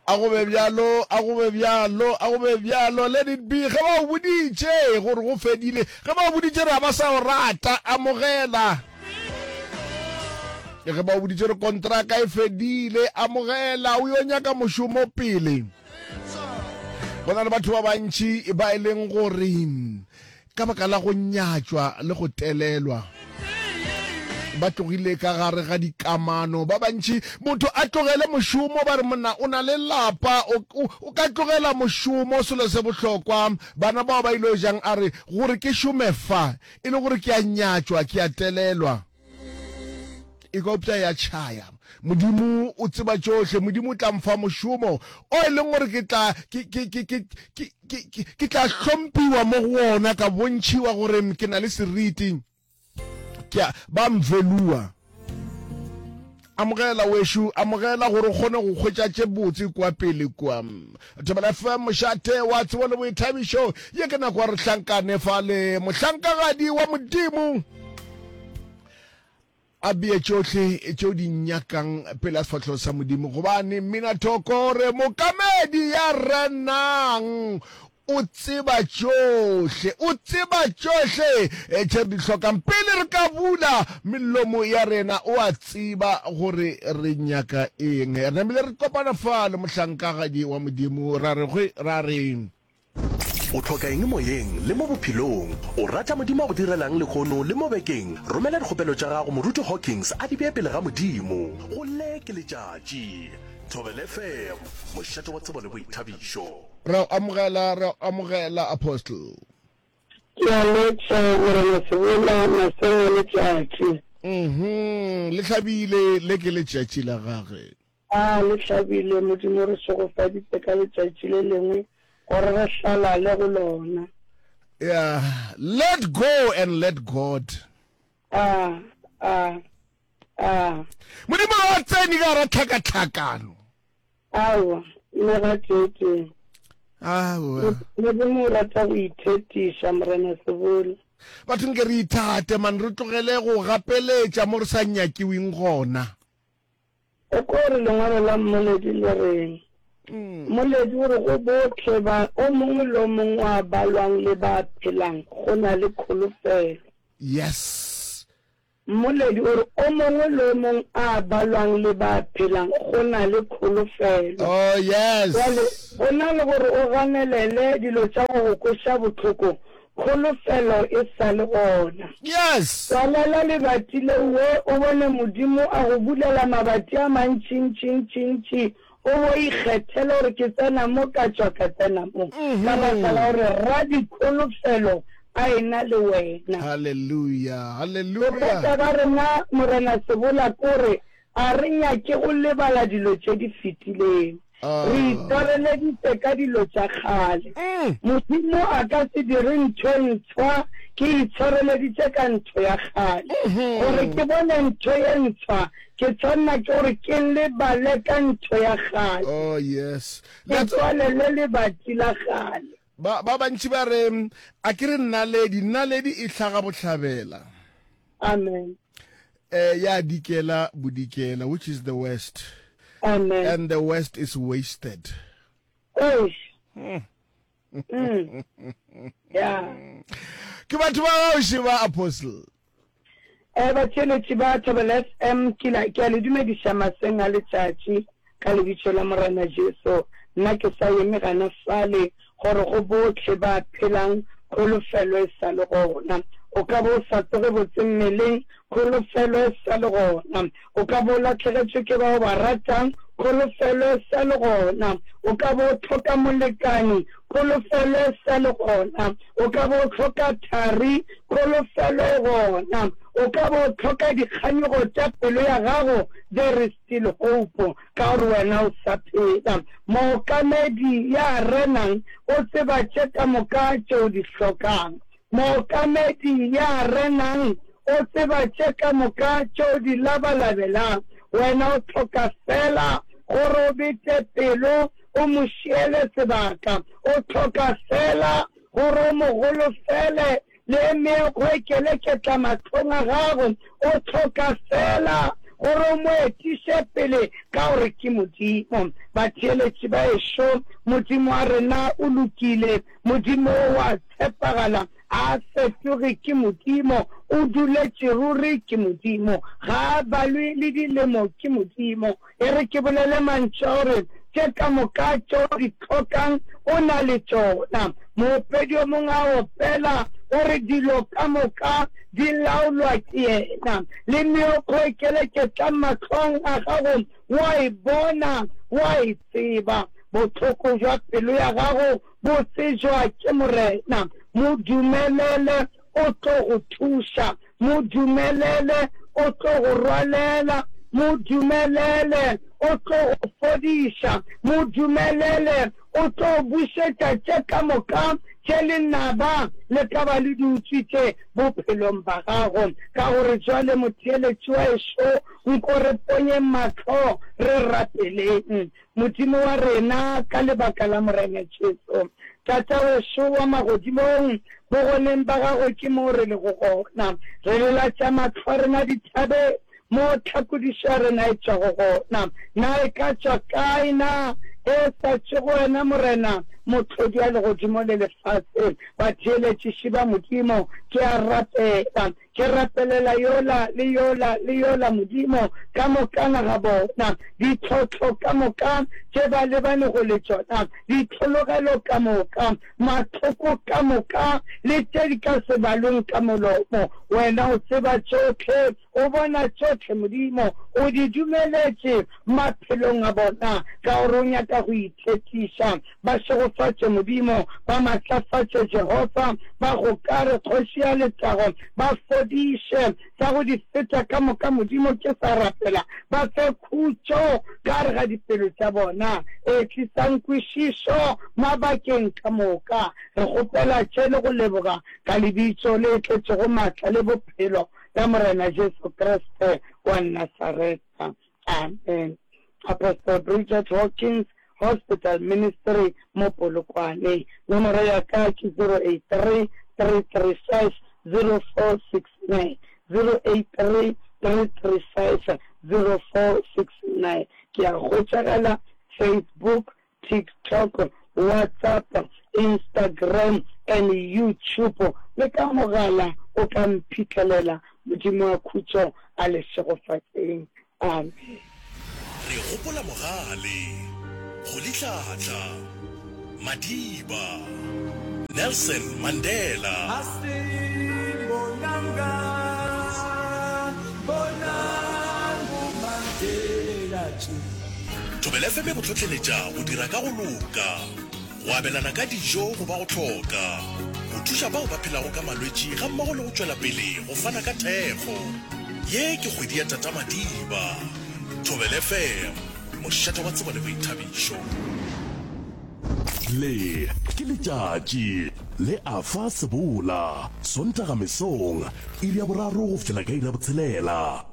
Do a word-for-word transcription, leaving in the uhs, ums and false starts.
A go be bjalo, a go be bjalo, a go be bjalo. Let it be. Ge ba o boditše gore go fedile, ge ba o boditše re a ba sa o rata, amogela. Ge ba o boditše re kontraka e fedile, amogela, o yo nyaka mošomo pele. Go na le batho ba bantši ba e leng gore ka baka la go nyatšwa le go telelwa ba tlogile ka gare ga dikamano. Ba bantši motho a tlogele mošomo ba re monna o na le lapa, o, o, o ka tlogela mošomo, selo se bohlokwa. Bana bao ba ile jang a re gore ke šome fa e le gore ke a nyatšwa, ke a telelwa. E ka upša ya tšhaya. Modimo o tseba tšohle. Modimo o tla mfa mošomo o e leng gore ke tla, ke, ke, ke, ke, ke, ke, ke, ke tla hlomphiwa mo go wona, ka bontšhiwa gore ke na le seriti. Ke a, ba mvelua. Amogela wešo, amogela gore o kgone go hwetša tše botse kua pele kua. Thobela F M, mošate wa tsebo le boithabišo. Ye ke nako ya re hlankane fa le mohlankagadi wa Modimo. A bee tšohle tšeo di nyakang pele a sefahlego sa Modimo, gobane mminathoko re mokamedi ya renang o tseba tšohle, o tseba tšohle tše re di hlokang. Pele re ka bula melomo ya rena, o a tseba gore re nyaka eng. Re namile re kopana fa le mohlankagadi wa Modimo, ra re, ra re, O hloka eng moyeng le mo bophelong? O rata Modimo a go direlang lehono le mo bekeng? Romela dikgopelo tša gago Moruti Hawkins a di bee pele ga Modimo. Go le ke letšatši. Thobela F M, mošate wa tsebo le boithabišo. Re a amogela, re a amogela, Apostle. Ke a letša, Morena Sebola, maseng a letšatši. Mhm, le hlabile, le ke letšatši la gage. A le hlabile, Modimo o re šegofaditše ka letšatši le lengwe gore re hlalale go lona. Yeah, let go and let God. A, a, a. Modimo ga a tsene ka gara tlhakatlhakano. Aowa, le gateetee. Aowa. Modimo o rata go ithetiša, Morena Sebola. Batho nke re ithate, man, re tlogele go gapeletša mo re sa nyakiweng gona. O ko re lengwalo la Mmoledi le reng? Mmoledi o re go bohle ba, o mongwe le o mongwe wa ba lwang le ba phelang, go na le kholofelo. Yes. Mmoledi o re o mongwe le o mongwe a ba lwang le ba phelang, go na le kholofelo. Oh, yes. Bjale, go na le gore o ganelele dilo tša go go kweša bohloko, kholofelo e sa le gona. Yes. Tswalela lebati leo we o bone Modimo a go bulela mabati a mantšintšintšintši, o bo ikgethele gore ke tsena mo ka tšwa ka tsena mo, ka baka la gore Radikholofelo a ena le wena. Hallelujah, hallelujah. Bothata ba rena, Morena Sebola, ke gore a re nyake go lebala dilo tše di fetileng. Re itshwareleditše ka dilo tša kgale. Modimo a ka se dire ntho e ntshwa ke itshwareleditše ka ntho ya kgale. Gore ke bone ntho ye ntshwa, ke tshwanela ke gore ke lebale ka ntho ya kgale. Oh, yes. Ke tswalele lebati la kgale. Ba, ba bantši ba re, A ke re naledi, naledi e hlaga bohlabela. Amen. Eh, ya dikela bodikela, which is the west. Amen. And the west is wasted. Eish. Mm. Yeah. Ke batho ba gaoši ba Apostle. Eh, batheeletši ba Thobela F M, ke la, ke a le dumediša maseng a letšatši ka lebitso la Morena Jesu. Nna ke sa eme gana fale gore go bohle ba phelang kholofelo e sa le gona. O ka bo o sa tsoge botse mmeleng, kholofelo e sa le gona. O ka bo o lahlegetšwe ke ba o ba ratang, kholofelo e sa le gona. O ka bo o hloka molekani, kholofelo e sa le gona. O ka bo o hloka thari, kholofelo e gona. O ka bo o hloka dikganyogo tša pelo ya gago, there is still hope, ka gore wena o sa phela. Mookamedi ya renang o tseba tše ka moka tše o di hlokang. Mookamedi ya renang o tseba tše ka moka tše o di labalabelang. Wena o hloka feela gore o bete pelo o mo šiele sebaka. O hloka feela gore o mo golofele le meokgo e keleketla mahlong a gago. O hloka feela gore o mo etiše pele ka gore ke Modimo. Batheeletši ba ešo, Modimo wa rena o lokile, Modimo wa tshepagala, a fetoge ke Modimo, o duletše ruri ke Modimo, ga a balwe le dilemo ke Modimo. E re ke bolele mantšu a gore tše ka moka tše o di hlokang o na le tšona. Moopedi yo mongwe a opela o re dilo ka moka di laolwa ke yena. Le meokgo e keleketlang mahlong a gago wa e bona, wa e tseba. Bohloko bja pelo ya gago bo tsejwa ke Morena. Mo dumelele o tlo go thuša. Mo dumelele o tlo go rwalela. Mo dumelele o tlo go fodiša. Mo dumelele o tlo bušetša tše ka moka tše lenaba le ka ba le di utswitše bophelong ba gago. Ka gore jwale motheeletši wa ešo, nko re ponyeng mahlo re rapeleng Modimo wa rena ka lebaka la Morena Jesu. Tatawešo wa magodimong, bogoneng ba gago ke mo re lego gona. Re lelatša mahlo a rena dithabeng, mo tlhakodišo ya rena e tšwago gona. Na e ka tšwa kae? Na e sa tšwe go wena, Morena, Mohlodi wa legodimo le lefase? Batheeletšiši ba Modimo, ke a rapela, ke rapelela yola le yola le yola, Modimo, ka mokana ga bona, ditlhohlo ka moka tše ba lebanego le tšona, ditlhologelo ka moka, mahloko ka moka, le tše di ka se balweng ka molomo. Wena o tseba tšohle, o bona tšohle, Modimo, o di dumeletše maphelong a bona, ka gore o nyaka go ithetiša. Ba šegofatše, Modimo, ba matlafatše, Jehofa, ba gokare, Kgoši ya letago, ba fodiše, tša go di feta ka moka, Modimo, ke sa rapela, ba fe khutšo ka gare ga dipelo tša bona, e tlisang kwešišo mabakeng ka moka. Re kgopela tše le go leboga ka lebitso le tletšego maatla le bophelo la Morena Jesu Kriste wa Nasaretha. Amen. Apostle Bridget Hawkins, Hospital Ministry mo Polokwane. Nomoro ya ka ke zero eight three, three three five, zero four six nine, zero eight three, three three five, zero four six nine. Ke a hwetšagala Facebook, TikTok, WhatsApp, Instagram and YouTube. Le ka mogala o ka mphihlelela. Modimo wa khutšo a le šegofatšeng. Amen. Re gopola Mogale, Rolihlahla, Madiba, Nelson Mandela. Thobela F M e go hlohleletša go dira ka go loka, go abelana ka dijo go ba go hloka, go thuša bao ba phelago ka malwetši gammogo le go tšwela pele go fana ka thekgo. Ye ke kgwedi ya Tata Madiba. Thobela F M, mošate wa tsebo le boithabišo. Le ke letšatši le Afa Sebola, Sontaga mesong, iri ya boraro go fihlela ka iri ya botshelela.